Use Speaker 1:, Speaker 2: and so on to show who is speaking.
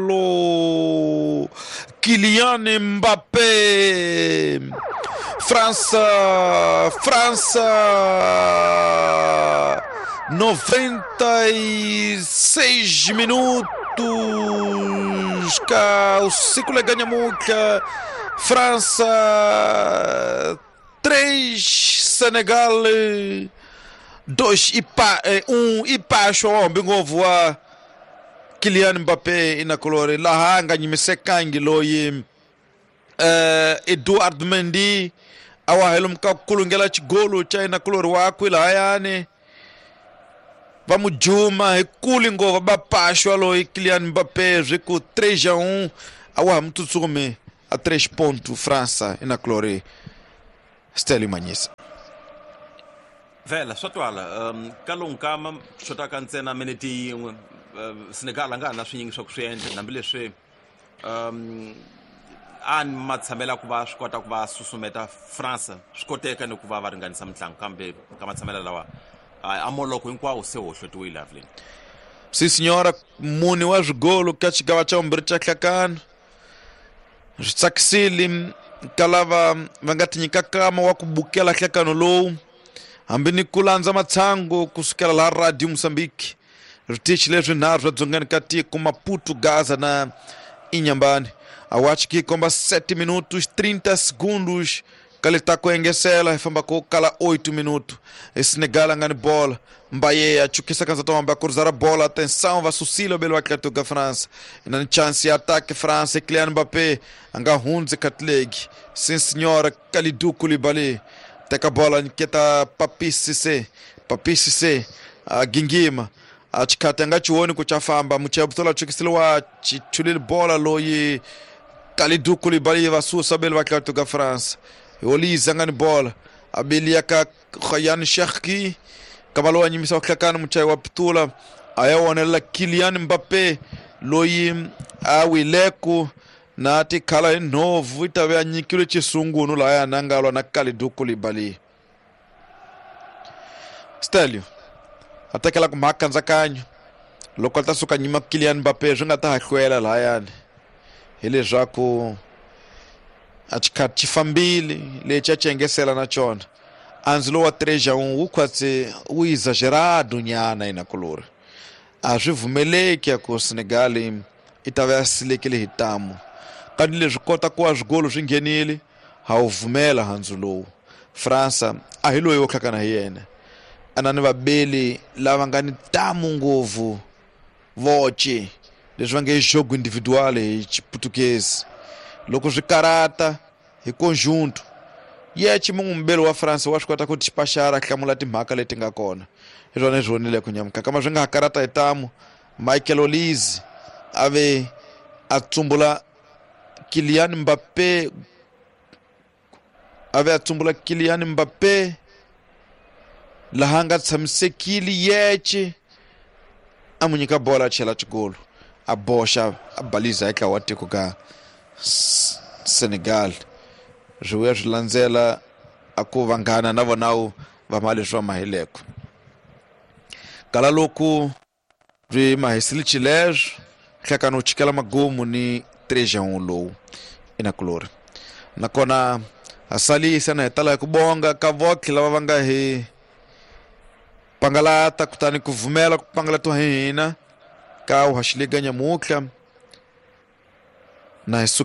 Speaker 1: Golo! Kylian Mbappé! França! França! 96 minutos! Cá o ciclo ganha muita. França 3, Senegal 2 e 1 e paxo hombe ngopfu wa Kylian Mbappé inakulori laha a nga nyimisekangi loyi Edouard Mendy a wa helo ka ku kulungela xigolo xa inakulori wakwe lahayani va mu juma hi kuli ngopfu va paxwa loyi Kylian Mbappé swi ku 3-1 a wa ha mu tsutsumi a 3 ponto França inakulori Stanley Manyisa.
Speaker 2: Vhela swa twala ka lowu nkama xotaka ntsena minete yin'we, Senegal a nga ha na swinyingi swa ku swi endla hambileswi a ni matshamela ku va swi kota ku va susumeta France, swi koteka ni ku va va ringanisa mitlangu, kambe ka matshamela lawa a moloko hinkwawo se hohlotiwile Evelyn.
Speaker 1: Si senhora, mune wa swigolo ka xigava xa vumbirhi xa hlakano swi tsakisile ka lava va nga tinyika kama wa ku bukela hlekano lowu hambi ni ku landza matshangu kusukela laha Radio Mozambique switichi leswi nharhu swa dzongeni ka tiko Maputo, Gaza na Inhambane. Acho que komba 7 minutos 30 segundos ka leti ta ku engesela hi famba ku kala 8 minuto. Senegal a nga ni bola, Mbaye a chukisa kanza tomba a cruzar a bola, atenção, va susila belo Atlético da França. Na ni chance ya ataque França, Kylian Mbappé a nga hundzi Katlegi. Sim senhora, Kalidou Koulibaly teka bola nyiketa Papi Cissé. Papi Cissé a gingima a chikhati a nga chiwoni ku cha famba muchabutola chukisile wa chichulile bola loyi Kalidou Koulibaly va susa belo Atlético da França. Olise a nga ni bola abelia ka Ryan Cherki kama loyi a nyimisa hlakani muchayi wa pitula a ya wonelela Kylian Mbappé loyi a wileku na tikhala hi nhovu i ta ve a nyikiwe xisungunu lahaya na nga lwa na Kalidou Koulibaly. Stelio a tekela ku mhaka nkatsakanyo loko a ta suka nyima Kylian Mbappé swi nga ta ha hlwela lahayani hileswaku a xikhati xi fambile lexi a xi engesela na xona andzilo wa 3-1 wu khwatse wu exagerado nyana inakulori a swi vumeleki ku Senegal i ta va ya silekile hi tamu kanti leswi kota ku wa swigolo swi nghenile ha wu vumela handzu lowu. França a hi loyi wo hlakana hi yena a na ni vabeli lava nga ni tamu ngopfu voce leswi va nge jogo individual hi Xiputukezi loko swi karata hi conjunto yeche mun'we mubeli wa France wa swi kota ku tipaxara a hlamula timhaka leti nga kona hi swona swi vonile ku nyamuka kama swi nga ha karata hi tamu Michael Olise a ve a tsumbula Kylian Mbappé a ve a tsumbula Kylian Mbappé laha nga tshamisekile yeche a mu nyika bola a chela xigolo a boxa a baliza eka wa tiko ka Senegal swi vuya swi landzela a ku vanghana na vonawu va ma leswi va mahileko kala loko byi mahisile xileswo hlekano wu chikela magumu ni 3-1 lowu inakulori nakona ha salisa na hi tala hi ku bonga ka votlhe lava va nga hi pangalata kutani ku vumela ku pangalatiwa hi hina ka uhaxilega nyamutlha na hi